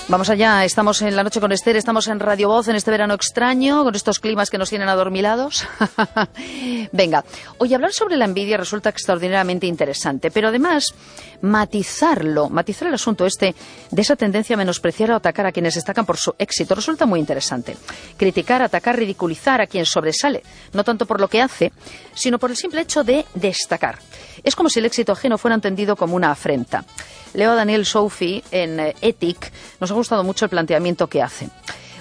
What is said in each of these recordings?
Vamos allá, estamos en La Noche con Esther, estamos en Radio Voz en este verano extraño, con estos climas que nos tienen adormilados. Venga, hoy hablar sobre la envidia resulta extraordinariamente interesante, pero además matizar el asunto de esa tendencia a menospreciar o atacar a quienes destacan por su éxito resulta muy interesante. Criticar, atacar, ridiculizar a quien sobresale, no tanto por lo que hace, sino por el simple hecho de destacar. Es como si el éxito ajeno fuera entendido como una afrenta. Leo a Daniel Soufi en Ethic. Nos ha gustado mucho el planteamiento que hace.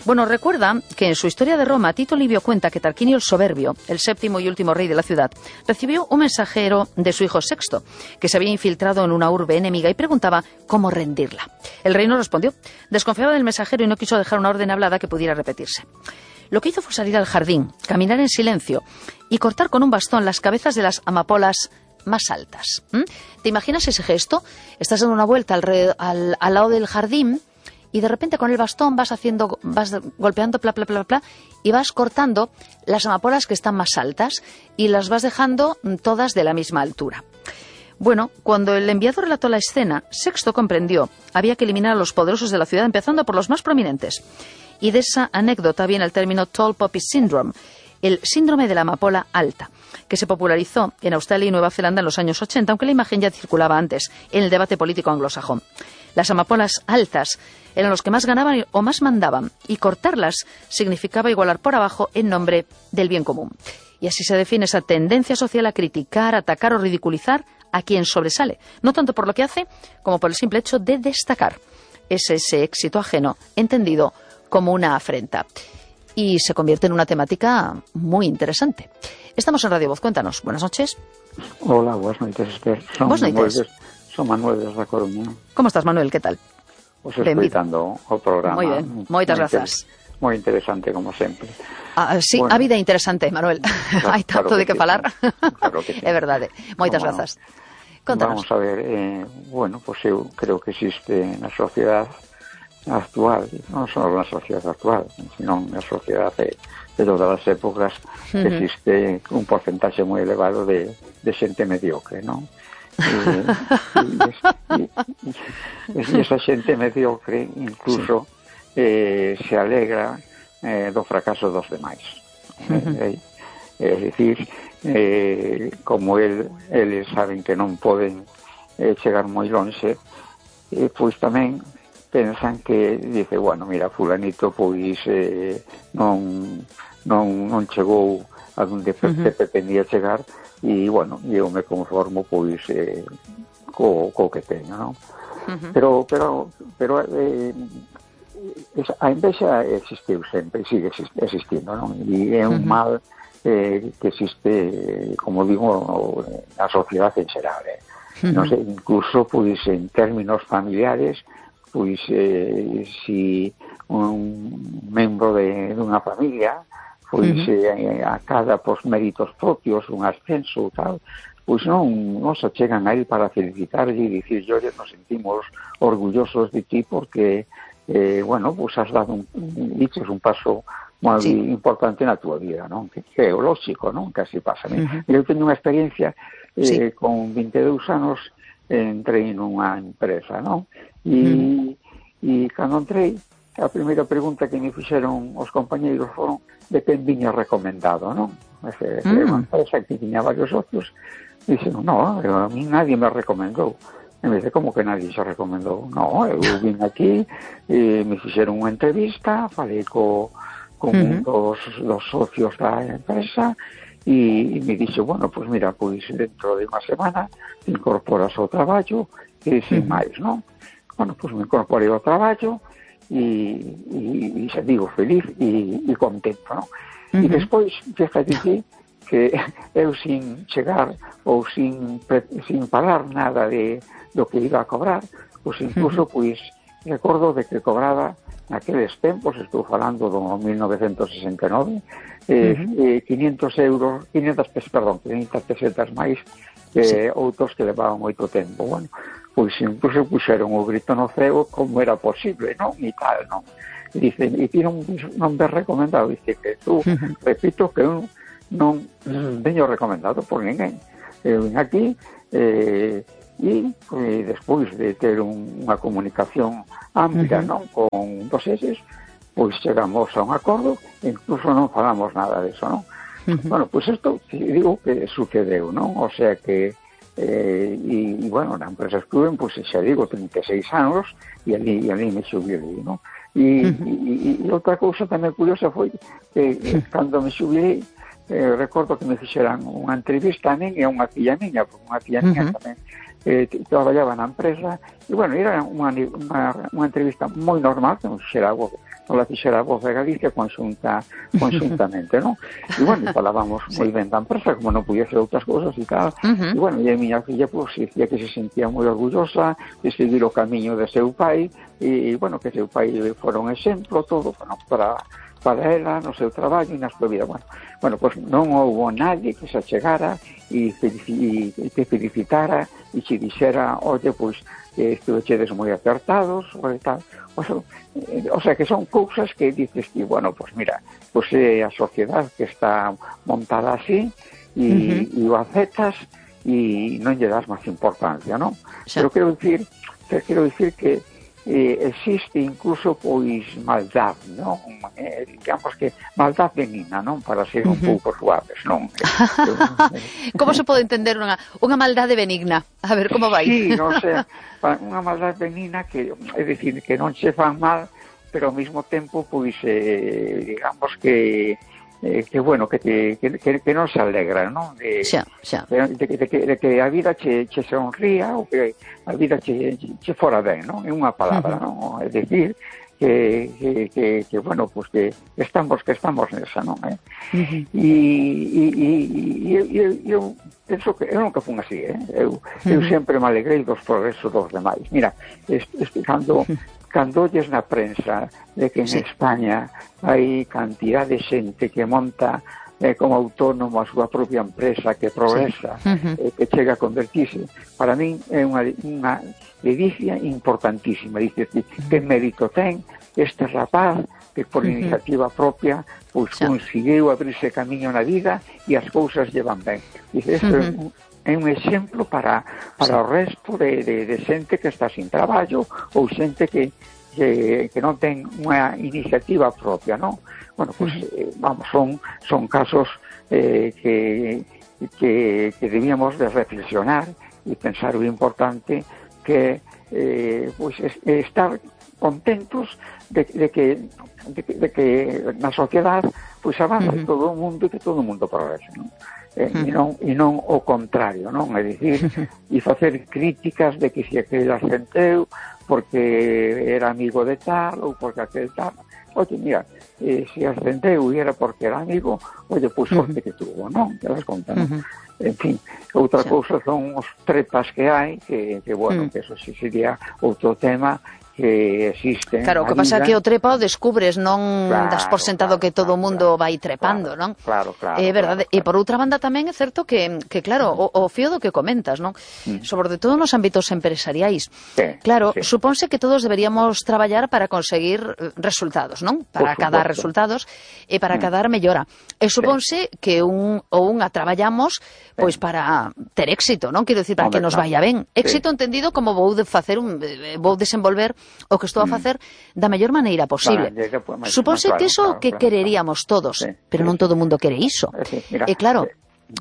Bueno, recuerda que en su Historia de Roma, Tito Livio cuenta que Tarquinio el Soberbio, el séptimo y último rey de la ciudad, recibió un mensajero de su hijo Sexto, que se había infiltrado en una urbe enemiga y preguntaba cómo rendirla. El rey no respondió, desconfiaba del mensajero y no quiso dejar una orden hablada que pudiera repetirse. Lo que hizo fue salir al jardín, caminar en silencio y cortar con un bastón las cabezas de las amapolas más altas. ¿Te imaginas ese gesto? Estás dando una vuelta al lado del jardín y de repente con el bastón vas golpeando pla, pla, pla, pla, y vas cortando las amapolas que están más altas y las vas dejando todas de la misma altura. Bueno, cuando el enviado relató la escena, Sexto comprendió, había que eliminar a los poderosos de la ciudad empezando por los más prominentes. Y de esa anécdota viene el término Tall Poppy Syndrome, el síndrome de la amapola alta, que se popularizó en Australia y Nueva Zelanda en los años 80, aunque la imagen ya circulaba antes en el debate político anglosajón. Las amapolas altas eran los que más ganaban o más mandaban, y cortarlas significaba igualar por abajo en nombre del bien común. Y así se define esa tendencia social a criticar, atacar o ridiculizar a quien sobresale, no tanto por lo que hace como por el simple hecho de destacar. Es ese éxito ajeno entendido como una afrenta. Y se convierte en una temática muy interesante. Estamos en Radio Voz, cuéntanos. Buenas noches. Hola, buenas noches, Esther. Son Manuel desde A Coruña. ¿Cómo estás, Manuel? ¿Qué tal? Os escoitando o programa. Muy bien, moitas grazas. Moi interesante, como sempre. Sí, bueno, a vida interesante, Manuel. Claro, hai tanto de que falar. Claro que sí. É verdade. Moitas grazas. Contanos. Vamos a ver, pues eu creo que existe na sociedade actual, non só na sociedade actual, sino na sociedade de todas as épocas, existe un porcentaxe moi elevado de xente mediocre, non? E esa xente mediocre incluso se alegra do fracaso dos demais. É dicir, como eles saben que non poden chegar moi lonxe, pois tamén pensan que, dice, bueno, mira, fulanito pois non chegou a donde pretendía chegar e, bueno, eu me conformo pois co que teño, non? Pero a envexa existiu sempre e sigue existindo, non? E é un mal que existe, como digo, na sociedade en xeral, non sei, incluso pois en términos familiares, pois si un membro dunha familia pois acada por méritos propios un ascenso tal, pois non se chegan a él para felicitarlle e dicir, nos sentimos orgullosos de ti porque bueno, pois has dado dices un paso moi importante na túa vida, non? Que é o lógico, non? Que así pasa. Eu teño unha experiencia con 22 anos, entrei nunha empresa, non? E cando entrei, a primeira pregunta que me fixeron os compañeiros foron de quen viña recomendado, non? Unha empresa que tiña varios socios, dixeron, no, a mí nadie me recomendou. E me dice, como que nadie se recomendou? No, eu vim aquí, me fixeron unha entrevista, falei con un dos socios da empresa, e me dixe, bueno, pois mira, pois dentro de unha semana te incorporas ao traballo e sin máis, non? Bueno, pois me incorporei ao traballo e xa digo, feliz e contento, non? E despois, fíjate que eu sin chegar ou sin falar nada do que iba a cobrar, pois incluso, pois, recordo de que cobraba naqueles tempos, estou falando do 1969, 500 pesetas máis que outros que levaban moito tempo. Bueno, pois incluso puxeron o grito no ceo como era posible, non? E tal, non? Dice, e ti non ves recomendado, dice que tú, repito, que eu non veño recomendado por ninguén. Eu vim aquí, e despois de ter unha comunicación ampla, non, con dos eses, pois chegamos a un acordo e incluso non falamos nada deso, non? Bueno, pois isto digo que sucedeu, non? O sea que e bueno, na empresa estuve, pois xa digo, 36 anos e ali me xubilei, non? E outra cousa tamén curiosa foi que cando me xubilei, recordo que me fixeran unha entrevista a min e a unha filla miña, porque unha filla miña tamén traballaba na empresa, e bueno, era unha entrevista moi normal, que non la fixera a Voz de Galicia conxuntamente, non? E bueno, falábamos moi ben da empresa, como non podía ser outras cousas e tal, e bueno, e a miña filla, pues, dicía que se sentía moi orgullosa de seguir o camiño de seu pai, e bueno, que seu pai fora un exemplo, todo, bueno, para ela, no seu traballo e na súa vida. Bueno, pues non houbo nadie que se achegara e te felicitara e che dixera, oye, pois, estuvechedes moi acertados, ou tal. O sea, que son cousas que dices que, bueno, pues mira, pues a sociedade que está montada así e o aceptas e non lle das máis importancia, non? Pero quero dicir que existe incluso pois maldad, non? Digamos que maldad benigna, non? Para ser un pouco suaves, non? Como se pode entender unha maldade benigna? A ver, como vai? Sí, non sei, unha maldad benigna que, é dicir, que non se fan mal, pero ao mesmo tempo, pois, digamos que bueno, que non se alegra, non? De que a vida che sonría ou que a vida che fora ben, non? É unha palabra, non? É dicir, que bueno, pues que estamos nesa, non? E eu penso que eu nunca fun así, eu sempre me alegrei dos progresos dos demais. Mira, cando olles na prensa de que en España hai cantidad de xente que monta como autónomo a súa propia empresa, que progresa, que chega a convertirse, para min é unha ledicia importantísima. Dices, que mérito ten este rapaz que por iniciativa propia pois conseguiu abrirse camiño na vida e as cousas llevan ben. Dices, isto é un exemplo para o resto de xente que está sin traballo ou xente que non ten unha iniciativa propia, non? Bueno, pues, vamos, son casos que debíamos de reflexionar e pensar o importante que pues, estar contentos de que na sociedade pues, avance todo o mundo e que todo o mundo progrese, non? E non o contrario, non? É dicir, e facer críticas de que se aquel ascendeu porque era amigo de tal ou porque aquel tal. Oye, mira, se ascendeu e era porque era amigo, oye, pois sorte que tuvo, non? Te das conta, non? En fin, outra cousa son os trepas que hai, que bueno, que eso sí sería outro tema que existe. Claro, o que pasa é que o trepa o descubres, non das por sentado que todo o mundo vai trepando, non? Claro. É verdade. E por outra banda tamén é certo que claro, o fío do que comentas, non? Sobre todo nos ámbitos empresariais. Claro, supónse que todos deberíamos traballar para conseguir resultados, non? Para acadar resultados e para acadar mellora. E supónse que unha traballamos pois para ter éxito, non? Quero dicir, para que nos vaya ben. Éxito entendido como vou desenvolver o que estou a facer da mellor maneira posible. Supónse que iso que quereríamos todos, pero non todo o mundo quere iso. E claro,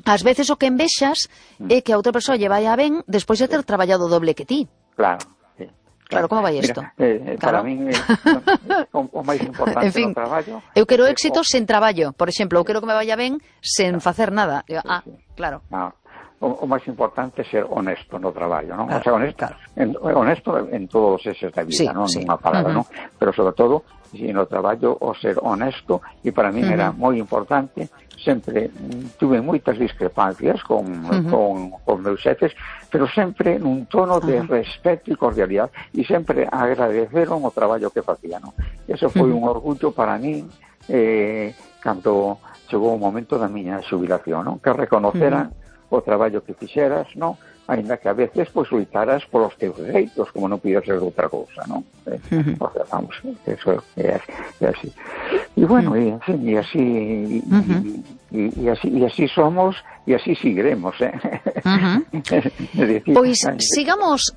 ás veces o que envexas é que a outra persoa lle vai a ben despois de ter traballado doble que ti. Claro, como vai isto? Para min o máis importante do traballo. Eu quero éxito sen traballo, por exemplo, eu quero que me vaya ben sen facer nada. Claro. O máis importante é ser honesto no traballo, non? O sea, honesto en todos eses da vida, non? Nunha palabra, non? Pero sobre todo, no traballo, o ser honesto, e para min era moi importante. Sempre tuve moitas discrepancias con meus xefes, pero sempre nun tono de respeto e cordialidade, e sempre agradeceron o traballo que facía, non? Eso foi un orgullo para min cando chegou o momento da miña xubilación, non? Que reconoceran o traballo que fixeras, non? ainda que a veces pois loitaras polos teus dereitos, como non pides ser outra cousa, non? Porque, vamos, eso é así. E bueno, e así así somos e así seguiremos, Pois sigamos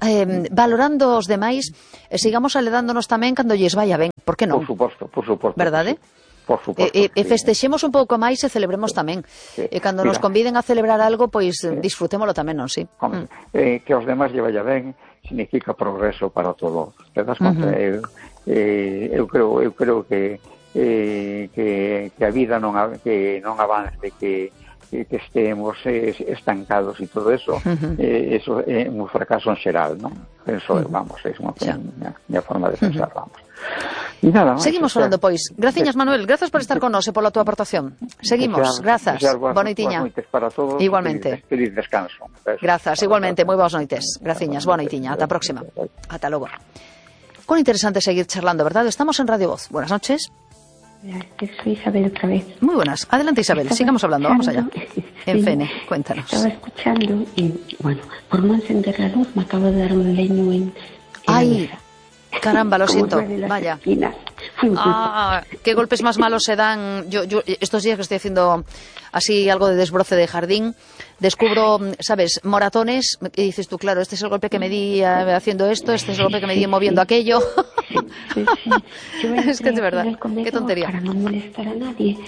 valorando os demais, sigamos aledándonos tamén cando lles vaya ben, por que non? Por suposto. Verdade? Por suposto. E festexemos un pouco máis e celebremos tamén. E cando nos conviden a celebrar algo, pois disfrutémolo tamén, non? Sí. Que aos demais lle vaya ben significa progreso para todos. Te das conta? Eu creo que a vida non avance, que estemos estancados e todo eso, eso é un fracaso en xeral, non? Penso, vamos, é unha miña forma de pensar, vamos. E nada máis. Seguimos falando, pois. Graciñas, Manuel. Grazas por estar con nos e pola túa aportación. Seguimos. Grazas. Boa noitiña. Boas noites para todos. Igualmente. Feliz descanso. Grazas. Igualmente. Moi boas noites. Graciñas. Boa noitiña. Ata a próxima. Ata logo. Cuán interesante seguir charlando, ¿verdad? Estamos en Radio Voz. Buenas noches. Soy Isabel otra vez. Muy buenas. Adelante, Isabel. Sigamos hablando. Vamos allá. En Fene, cuéntanos. Estaba escuchando y, bueno, por no encender la luz me acabo de dar un leño en ¡ay! Caramba, lo siento. Vaya. Qué golpes más malos se dan. Yo estos días que estoy haciendo así algo de desbroce de jardín, descubro, ¿sabes?, moratones, y dices tú, claro, este es el golpe que me di haciendo esto, este es el golpe que me di moviendo aquello. Sí. Es que de verdad, qué tontería. Para no molestar a nadie,